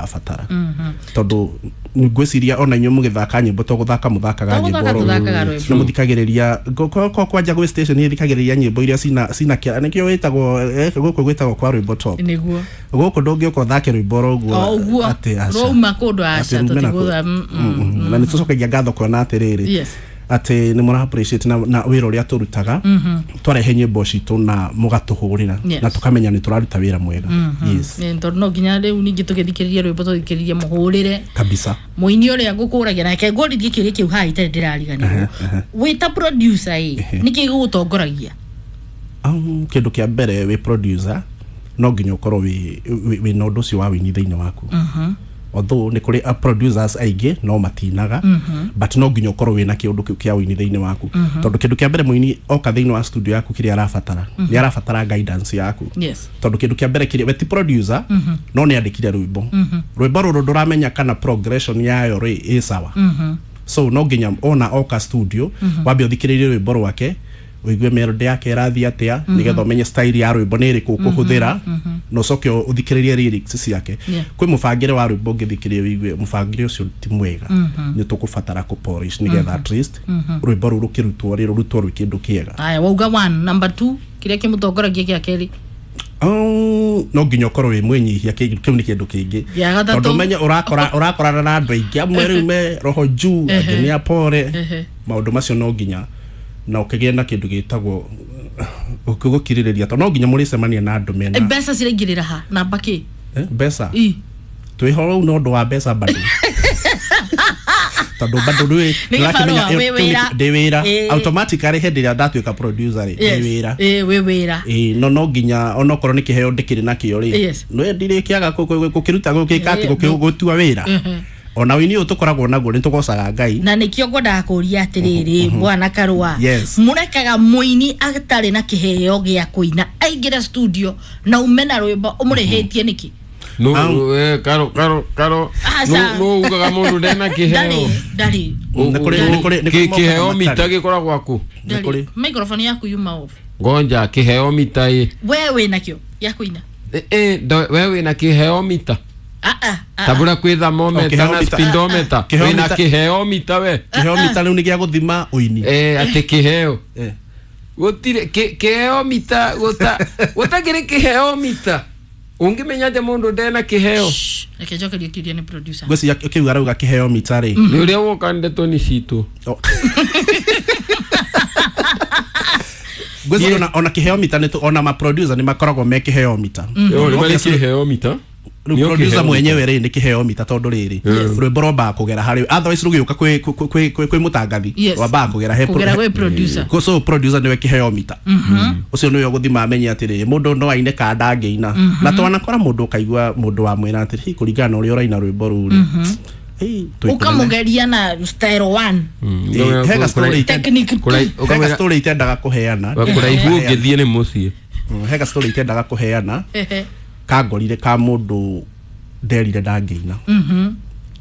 Abatara tondu ngwiciria ona inyuĩ mũgĩthaka nyĩmbo to gũthaka mũthakaga To nyĩmbo gũthaka oro tũthakaga ũguo. rwĩmbo. Na mũthikagĩrĩria kwanja gwĩ station ĩthikagĩrĩria nyĩmbo iria cina kĩara nĩkĩo wĩtagwo gũkũ gwĩtagwo kwa rwĩmbo top. Nĩguo. Gũkũ ndũngĩũka ũthake rwĩmbo oro ũguo. O ũguo. Atĩ aca. Rwauma kũndũ aca, Atĩ rume na tũtigũtha- Na nĩ tũcokagia ngatho kuona atĩrĩrĩ atĩ nĩ mũra appreciate na wĩra ũrĩa tũrutaga, twarehe nyĩmbo citũ na mũgatũhũrĩra na tũkamenya nĩ tũraruta wĩra mwega. Yes. Tondũ no nginya rĩu ningĩ tũgĩthikĩrĩria rwĩmbo tũthikĩrĩrie mũhũrĩre kabisa. Mũini ũrĩa ngũkũragia nake ngũrithie kĩũria kĩu haha itarĩ ndĩrariganĩrwo. Wĩ ta producer ĩ, nĩkĩ gĩgũtongoragia? Kĩndũ kĩa mbere, wĩ producer no nginya ũkorwo wĩ na ũndũ ũcio wa wĩini thĩinĩ waku, although nĩ kũrĩ producers aingĩ no matinaga, but no nginya ũkorwo wĩna kĩũndũ kĩu kĩa wĩini thĩinĩ waku, tondũ kĩndũ kĩa mbere mũini oka thĩinĩ wa studio yaku kĩrĩa arabatara nĩ arabatara guidance yaku, tondũ kĩndũ kĩa mbere kĩrĩa we ti producer no nĩ andĩkire rwĩmbo, rwĩmbo rũrũ ndũramenya kana progression yayo rĩ ĩ sawa. So no nginya ona oka studio wambe ũthikĩrĩrie rwĩmbo rwake, ũigue melody yake ĩrathiĩ atĩa, nĩgetha ũmenye style ya rwĩmbo nĩ ĩrĩkũ ũkũhũthĩra, na ũcoke ũthikĩrĩrie lyrics ciake. Kwĩ mũbangĩre wa rwĩmbo ũngĩthikĩrĩria ũigue mũbangĩre ũcio ti mwega, nĩ tũkũbatara kũ polish nĩgetha at least rwĩmbo rũu rũkĩrutwo rĩ rũrutwo rwĩ kĩndũ kĩega. Aya, wauga one. Number two, kĩrĩa kĩmũtongoragia gĩa kerĩ? No nginya ũkorwo wĩ mwĩnyihia, kĩu nĩ kĩndũ kĩngĩ. Gĩa gatatũ. Tondũ ũmenye ũrakorana na andũ aingĩ, amwe rĩu me roho juu, angĩ nĩ apore. Maũndũ macio no nginya na ũkĩgĩe na kĩndũ gĩtagwo gũkirĩrĩria, tondũ no nginya mũrĩcemania na andũ mena Mbeca ciraingĩrĩra ha namba kĩ? Mbeca? I. Twĩho rĩu na ũndũ wa mbeca bado, tondũ bado ndũĩ Nĩ ndũrakĩmenya gĩbarũa, wĩ wĩra. Ndĩ wĩra automatically hĩndĩ ĩrĩa ndatuĩka producer rĩ, ndĩ wĩra. Wĩ wĩra. Ĩĩ, no nginya onokorwo nĩ kĩheo ndĩkĩrĩ nakĩo rĩ, no ndirĩkĩaga gũkĩruta gũgĩka atĩ gũtua wĩra. Ona wĩini ũyũ tũkoragwo naguo nĩ tũgocaga Ngai. Na nĩkĩo ngwendaga kũria atĩrĩrĩ, bwana Karũa, mũrekaga mũini atarĩ na kĩheo gĩa kũina aingĩre studio na ume na rwĩmbo ũmũrĩhĩtie nĩkĩ? No, karo karo karo. Aca. No ugaga mundu ndena Ndarĩ kiheo. ndarĩ. Nĩ kũrĩ mokaga Kiheo mita matarĩ. gikoragwo aku. Nĩ kũrĩ. Ndarĩ microphone yaku yuma off. Ngonja kiheo mita ĩ. We wĩ nakĩo gĩa kũina? We wĩna kiheo mita? Ah, ah, ah. Tabura kwĩ thermometer Oh, kiheo na mita. speedometer. Kiheo Wĩna mita. kiheo mita we? Kĩheo mita rĩu nĩ gĩa gũthima ũini. Atĩ kiheo gũtirĩ kiheo mita gũtakĩrĩ kiheo mita ũngĩmenya atĩ mũndũ ndena kiheo? Shh, reke njokerie kĩũria nĩ producer. Ngwĩciria kĩu arauga kĩheo mita rĩ. Nĩ ũrĩa woka ndeto nĩ citũ. Oh. Ngwĩciria ona kĩheo mita nĩ ona ma producer nĩ makoragwo me kĩheo mita. Nĩ marĩ kĩheo mita. Rĩu Nĩo producer kĩheo mwenyewe rĩ nĩ kĩheo mita, tondũ rĩrĩ rwĩmbo rwambaga kũgera harĩ, otherwise rũgĩũka kwĩ mũtangathi rwambaga kũgera he Kũgera gwĩ producer. So producer nĩwe kĩheo mita ũcio, nĩwe ũgũthima amenye atĩrĩ mũndũ no aine kana ndangĩina. Na twanakora mũndũ ũkaigua mũndũ wamwĩra atĩrĩ, "Hi, kũringana na ũrĩa ũraina rwĩmbo rũu rĩ, hey, twĩ kũnene." Ũkamũgeria na style one. Hega story Technique two. hega story itendaga kũheana. Kũraihu ũngĩthiĩ nĩ mũciĩ. Hega story itendaga kũheana kangorire ka mũndũ nderire ndangĩina,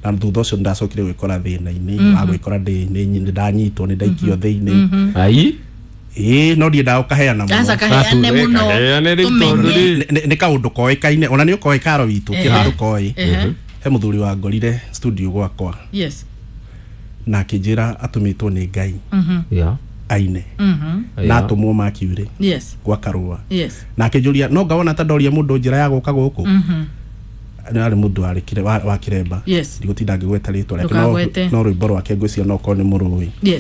na thutha ũcio ndacokire gwĩkora thĩna-inĩ wa gwĩkora nĩ ndanyitwo, nĩ ndaikio thĩinĩ. Ai. Ĩĩ, no ndiendaga gũkaheana mũno. Aca, kaheane Atu, mũno. kaheane rĩu Tũmenye. tondũ rĩ- Nĩ kaũndũ koĩkaine, ona nĩ ũkoĩ karo witũ kĩndũ koĩ. He mũthuri wangorire studio gwakwa na akĩnjĩra atũmĩtwo nĩ Ngai aine na atũmwo Mercury gwa Karũa, na akĩnjũria no ngawona ta ndoria mũndũ njĩra ya gũka gũkũ. Nĩ arĩ mũndũ wa Kĩremba. Ndigũtinda ngĩgweta rĩtwa rĩake, Ndũkagwete. no rwĩmbo rwake ngwĩciria no korwo nĩ mũrũĩ.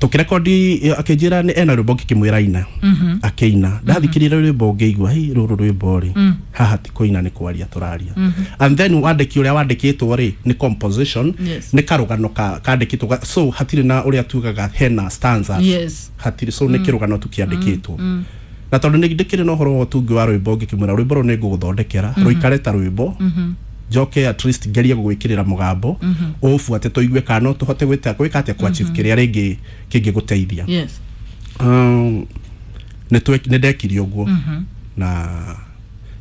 Tũkĩrekondi akĩnjĩra nĩ ena rwĩmbo, ngĩkĩmwĩra ina, akĩina. Ndathikĩrĩria rwĩmbo ngĩigua, hei, rũrũ rwĩmbo rĩ, haha ti kũina, nĩ kwaria tũraria. And then wandĩki ũrĩa wandĩkĩtwo rĩ nĩ composition, nĩ karũgano kandĩkĩtwo so hatirĩ na ũrĩa tugaga hena stanzas, hatirĩ. So nĩ kĩrũgano tu kĩandĩkĩtwo, na tondũ nĩ ndĩkĩrĩ na ũhoro wa ũtungi wa rwĩmbo, ngĩkĩmwĩra rwĩmbo rũu nĩ ngũgũthondekera rũikare ta rwĩmbo, njoke at least ngerie gũgwĩkĩrĩra mũgambo ũũbuate tũigue kana no tũhote gwĩka atĩa kũ achieve kĩrĩa rĩngĩ kĩngĩgũteithia. Nĩ ndekire ũguo na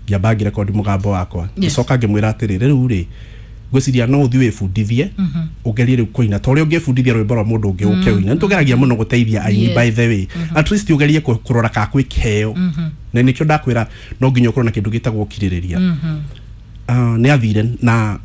ngĩamba ngĩrekondi mũgambo wakwa, ngĩcoka ngĩmwĩra atĩrĩ, rĩu rĩ ngwĩciria no ũthiĩ wĩbundithie ũgerie rĩu kũina ta ũrĩa ũngĩbundithia rwĩmbo rwa mũndũ ũngĩ ũke ũine. Nĩ tũgeragia mũno gũteithia aini. By the way, at least ũgerie kũrora kana kwĩ kĩheo, na nĩkĩo ndakwĩra no nginya ũkorwo na kĩndũ gĩtagwo ũkirĩrĩria. Nĩ athire na